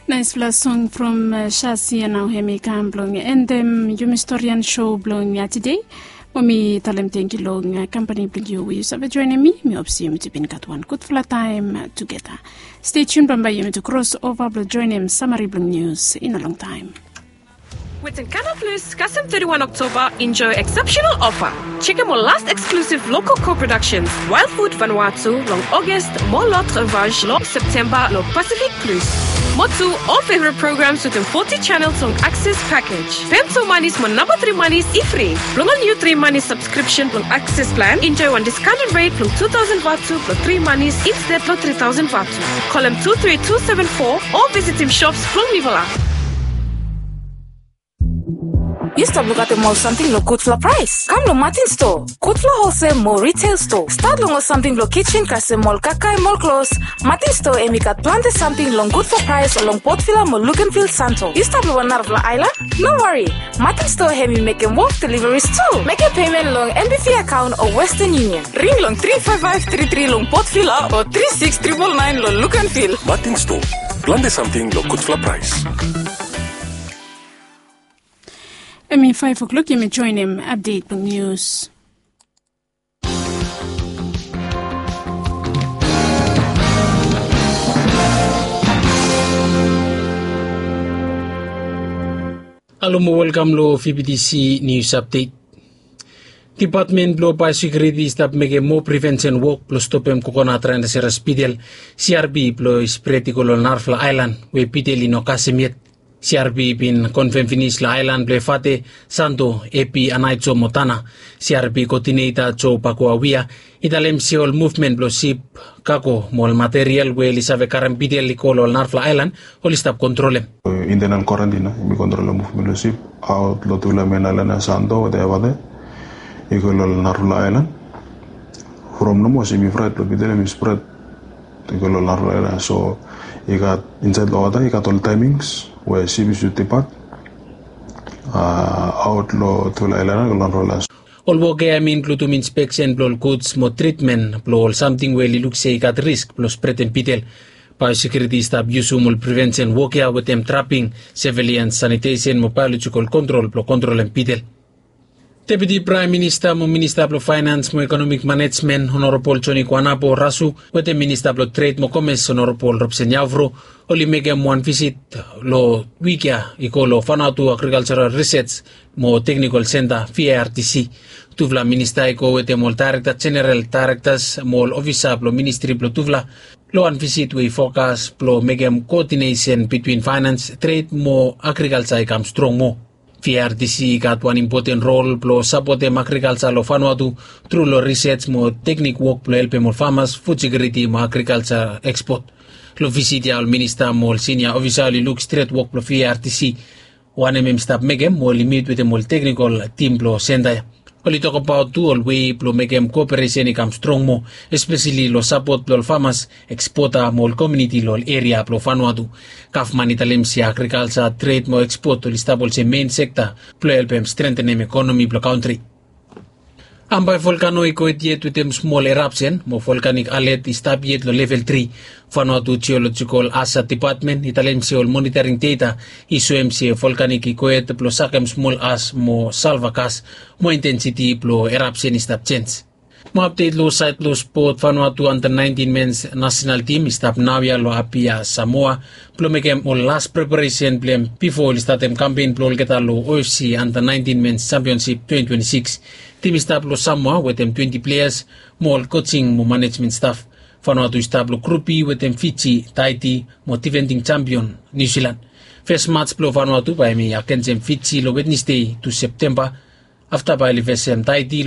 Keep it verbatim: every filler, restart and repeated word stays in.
Naispela song from Shasia nao hem i kam blong endem yumi storian show blong tide. Mo mi talem tengiu long kampani blong yu we yu save joinim mi. Mi hop se yumi tu bin gat wan gudfala taem tugeta. Stay tuned bambae yumi tu kros ova blong joinim samari blong nius i no longtaem. Wetin Canal Plus kasem thirty-one October enjoy exceptional offer. Check out last exclusive local co-productions, Wild Food Vanuatu long August, mo L'Autre Vache long September long Pacific Plus. Mo tu all favorite programs within forty channels long Access package. Pem tu manis mo namba three manis i free. Blong ol new three manis subscription blong Access plan, enjoy one discounted rate blong two thousand vatu blong three manis instead blong three thousand vatu. Kolem two three two seven four o visitim shops blong Nivala. Yu stap lukaotem ol samting long gudfala praes? Kam long Martin Store, gudfala holsel mo retail store. Stat long ol samting blong kitchen kasem ol kakae mo ol klos. Martin Store hem i gat plante samting long gudfala praes long Port Vila mo Luganville Santo. Yu stap long wan narafala aelan? No wari. Martin Store hem i mekem wok deliveries tu. Mekem pemen long N B V akaon o Western Union. Ring long three five five three three long Port Vila o three six triple nine long Luganville. Martin Store, plante samting long gudfala praes. Hem i five o'clock yumi joinim update blong nius. Halo mo welkam long V B T C News Update. Depatmen blong Biosekuriti i stap mekem moa prevensen wok blong stopem kokonat rainaseras bidel, C R B, blong i spret i go long narafala aelan we bidel i no kasem yet. C R B i bin konfem finis long aelan blong Efate, Santo, Epi, Anaico mo Tana. C R B koodineta Jo Bakuawia i talem se ol muvmen blong sip, kago mo ol material we oli save karem bidel i go long ol narafala aelan oli stap kontrolem. Internal quarantine i bin kontrolem muvmen blong sip aot long tufala men aelan ya, Santo wetem Efate, i go long ol narafala aelan. From nomo sip i fraet blong bidel hem i spret i go long narafala aelan. So i gat insaed long wota i gat ol taemings we sip i sud dipat aot long tufala aelan ya go long narafala aelan. Ol wok ya hem i inkludim inspeksen blong ol guds mo tritmen blong ol samting we oli luk se i gat risk blong spretem bidel. Biosekuriti i stap yusum ol prevensen wok ya wetem traping, sevilian sanitesen mo baelojikol kontrol blong kontrolem bidel. Deputi Praem Minista mo Minista blong Faenans mo Ekonomik Manejmen, Honorabol Joni Kuanabo Rasu, wetem Minista blong Tred mo Komes, Honorabol Robson Yaofro, oli mekem wan visit long wik ya i go long Vanuatu Agrikaljaral Risej mo Teknikol Senta, V A R T C. Tufala minista i go wetem ol daerekta jeneral, daerektas mo ol ofisa blong ministri blong tufala long wan visit we i fokas blong mekem koodinesen bitwin faenans, tred mo agrikalja i kam strong moa. V A R T C i gat wan impoten rol blong sapotem agrikalja long Vanuatu tru long risej mo teknik wok blong helpem ol famas, fud sekiuriti mo agrikalja ekspot. Long visit ya ol minista mo ol sinia ofisa oli luk stret wok blong V A R T C wanem hem i stap mekem mo oli mit wetem ol teknikol tim blong senta ya. Oli tokbaot tu ol wei blong mekem koperesen i kam strong moa, espeseli long sapot blong ol famas, ekspota mo ol komuniti long ol eria blong Vanuatu. Gavman i talem se agrikalja, tred mo ekspot oli stap olsem mein sekta blong helpem strentenem ekonomi blong kantri. Ambae volkano i go hed yet wetem smol erapsen mo volkanik alet i stap yet long level tri. Vanuatu Jeolojikol Aja Depatmen i talem se ol monitoring data i soem se volkanik i go hed blong sakem smol as mo salva gas mo intensiti blong erapsen i stap jenj. Mo apdet long saed blong spot, Vanuatu anda naentin mens nasenal tim i stap naoia long Apia, Samoa, blong mekem ol las preparesen blong hem bifo oli statem kampen blong olgeta long O F C anda naentin mens jampionsip twenti twenti sikis. Tim i stap long Samoa wetem twenti pleas mo ol kojing mo manejmen staf. Vanuatu i stap long grup B wetem Fiji, Taiti mo difending jampion Niu Silan. Fes mats blong Vanuatu bae hem i agensem Fiji long Wednesde tu Septemba. Afta bae oli fesem Taiti long